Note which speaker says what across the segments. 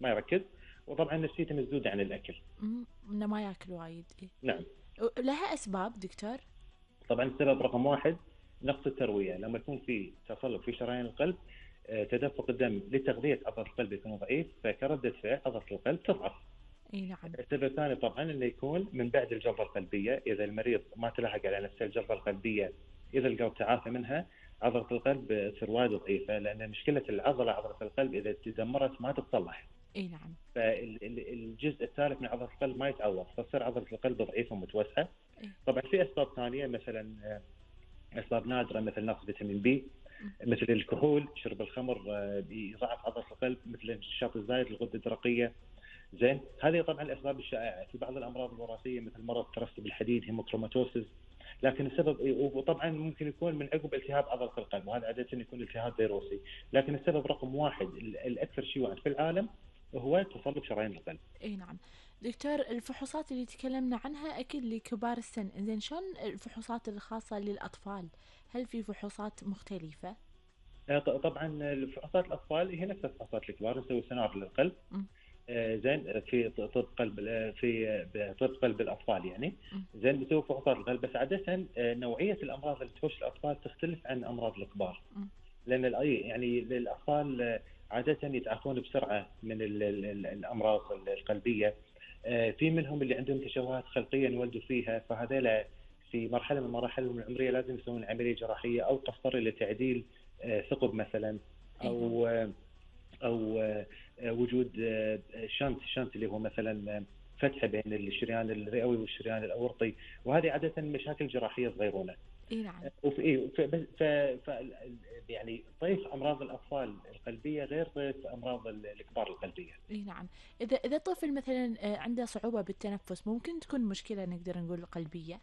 Speaker 1: ما يركز، وطبعا نفسيته مسدوده عن الاكل.
Speaker 2: إنه ما ياكل وايد. إيه.
Speaker 1: نعم.
Speaker 2: لها أسباب دكتور؟
Speaker 1: طبعا السبب رقم واحد نقص الترويه، لما يكون في تصلب في شرايين القلب، تدفق الدم لتغذيه عضله القلب يكون ضعيف، فكرده فعل عضله القلب تضعف.
Speaker 2: اي نعم.
Speaker 1: السبب الثاني طبعا انه يكون من بعد الجلطه القلبيه، اذا المريض ما تلحق على نفس الجلطه القلبيه، اذا القلب تعافى منها، عضله القلب تصير وايد ضعيفه، لان مشكله العضله عضله القلب اذا تدمرت ما تتصلح.
Speaker 2: اي نعم.
Speaker 1: فالجزء الثالث من عضله القلب ما يتعوض، فتصير عضله القلب ضعيفه ومتوسعه.
Speaker 2: إيه.
Speaker 1: طبعا في اسباب ثانيه، مثلا اسباب نادره مثل نقص فيتامين بي، مثل الكحول، شرب الخمر بيضعف عضله القلب، مثل النشاط الزايد للغده الدرقيه. زين، هذه طبعا الاسباب الشائعه. في بعض الامراض الوراثيه مثل مرض ترسب الحديد، هيموكروماتوسيس، لكن السبب، وطبعا ممكن يكون من عقب التهاب عضله القلب، وهذا عاده يكون التهاب فيروسي، لكن السبب رقم واحد الاكثر شيوعا في العالم هو تصلب شرايين القلب.
Speaker 2: اي نعم. دكتور، الفحوصات اللي تكلمنا عنها اكيد لكبار السن، زين شلون الفحوصات الخاصة للاطفال؟ هل في فحوصات مختلفة؟
Speaker 1: طبعا الفحوصات الاطفال هي نفس الفحوصات الكبار، نسوي سونار للقلب.
Speaker 2: م.
Speaker 1: زين، في طب قلب، في طب قلب الاطفال يعني.
Speaker 2: م.
Speaker 1: زين، بتسوي فحوصات القلب، بس عاده نوعيه الامراض اللي تخش الاطفال تختلف عن امراض الكبار.
Speaker 2: م.
Speaker 1: لان يعني الاطفال عاده يتعافون بسرعه من الامراض القلبيه. في منهم اللي عندهم تشوهات خلقيه انولدوا فيها، فهذول في مرحله من مراحلهم العمريه لازم يسوون عمليه جراحيه او قسطره لتعديل ثقب مثلا، او وجود شنت اللي هو مثلا فتحه بين الشريان الرئوي والشريان الاورطي، وهذه عاده مشاكل جراحيه صغيرونه.
Speaker 2: اي نعم.
Speaker 1: وفي يعني طيف امراض الاطفال القلبيه غير طيف امراض الكبار القلبيه.
Speaker 2: اي نعم. اذا طفل مثلا عنده صعوبة بالتنفس، ممكن تكون مشكلة نقدر نقول قلبية؟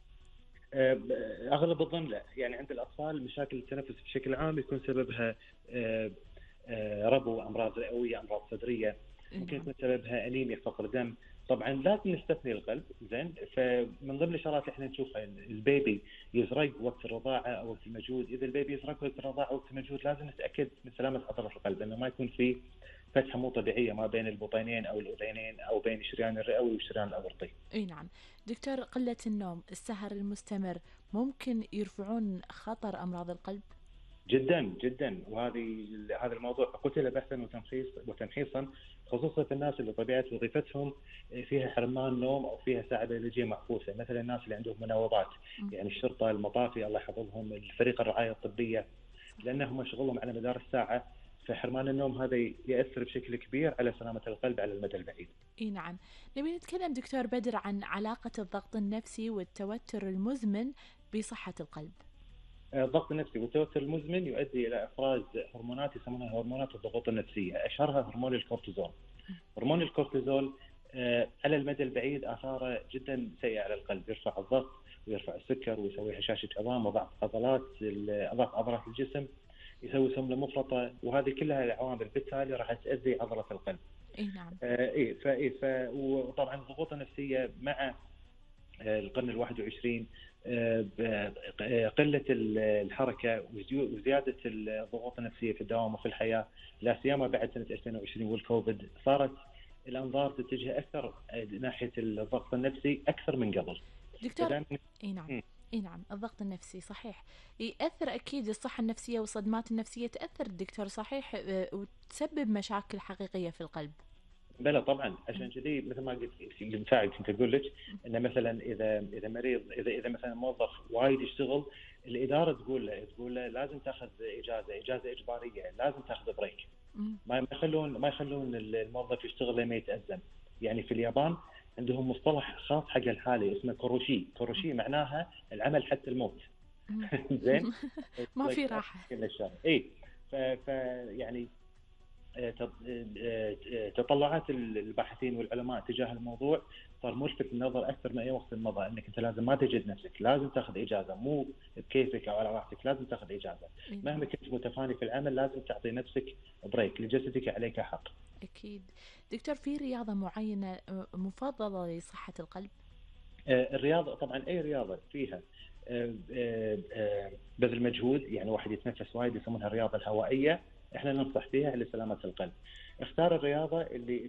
Speaker 1: اغلب الظن لا، يعني عند الاطفال مشاكل التنفس بشكل عام يكون سببها ربو، امراض رئويه، امراض صدريه، ممكن
Speaker 2: نعم.
Speaker 1: يكون سببها انيميا، فقر دم. طبعا لازم نستثني القلب. زين، فمن ضمن الشغلات اللي احنا نشوفها البيبي يزرق وقت الرضاعه او وقت المجهود. اذا البيبي يزرق وقت الرضاعه او وقت المجهود، لازم نتاكد من سلامه عضله القلب، انه ما يكون في فتحه مو طبيعيه ما بين البطينين او الاذينين او بين الشريان الرئوي والشريان الاورطي.
Speaker 2: اي نعم. دكتور، قلة النوم، السهر المستمر، ممكن يرفعون خطر امراض القلب؟
Speaker 1: جدا جدا، هذا الموضوع قتل بحثا وتمحيصا، خصوصا في الناس اللي طبيعه وظيفتهم فيها حرمان نوم او فيها ساعه بيولوجيه معكوسه، مثلا الناس اللي عندهم مناوبات، يعني الشرطه، المطافي، الله يحفظهم، الفريق الرعايه الطبيه، لانهم شغلهم على مدار الساعه، فحرمان النوم هذا ياثر بشكل كبير على سلامه القلب على المدى البعيد.
Speaker 2: اي نعم. نبي نتكلم دكتور بدر عن علاقة الضغط النفسي والتوتر المزمن بصحة القلب.
Speaker 1: الضغط النفسي والتوتر المزمن يؤدي الى افراز هرمونات يسمونها هرمونات الضغوط النفسيه، اشهرها هرمون الكورتيزول. هرمون الكورتيزول على المدى البعيد اثاره جدا سيئه على القلب، يرفع الضغط ويرفع السكر ويسوي هشاشه عظام وضعف ضعف عضلات الجسم، يسوي سمنه مفرطه، وهذه كلها العوامل بالتالي راح تاذي عضله القلب.
Speaker 2: اي نعم.
Speaker 1: وطبعا الضغوط النفسيه مع القرن ال21، قله الحركه وزياده الضغوط النفسيه في الدوام وفي الحياه، لا سيما بعد سنه 2020 والكوفيد، صارت الانظار تتجه اكثر ناحيه الضغط النفسي اكثر من قبل.
Speaker 2: دكتور. اي نعم. اي نعم، الضغط النفسي صحيح يأثر اكيد، الصحة النفسية والصدمات النفسية تأثر دكتور، صحيح، وتسبب مشاكل حقيقية في القلب.
Speaker 1: بلى طبعا، عشان كذي مثل ما قلت المساعد كنت اقول لك انه مثلا اذا مريض، اذا مثلا موظف وايد يشتغل، الاداره تقول له لازم تاخذ اجازه اجباريه، لازم تاخذ بريك. ما يخلون الموظف يشتغل لما يتأزم. يعني في اليابان عندهم مصطلح خاص حق الحاله اسمه كوروشي معناها العمل حتى الموت. زين.
Speaker 2: ما في راحة.
Speaker 1: اي. يعني تطلعات الباحثين والعلماء تجاه الموضوع صار ملفت للنظر اكثر من اي وقت مضى، انك انت لازم ما تجد نفسك، لازم تاخذ اجازه، مو بكيفك او على راحتك، لازم تاخذ اجازه. مهما كنت متفاني في العمل لازم تعطي نفسك بريك، لجسدك عليك حق.
Speaker 2: اكيد. دكتور، في رياضه معينه مفضله لصحه القلب؟
Speaker 1: الرياضه طبعا اي رياضه فيها بذل مجهود، يعني واحد يتنفس وايد يسمونها الرياضه الهوائيه، احنا ننصح فيها لسلامه القلب. اختار الرياضه اللي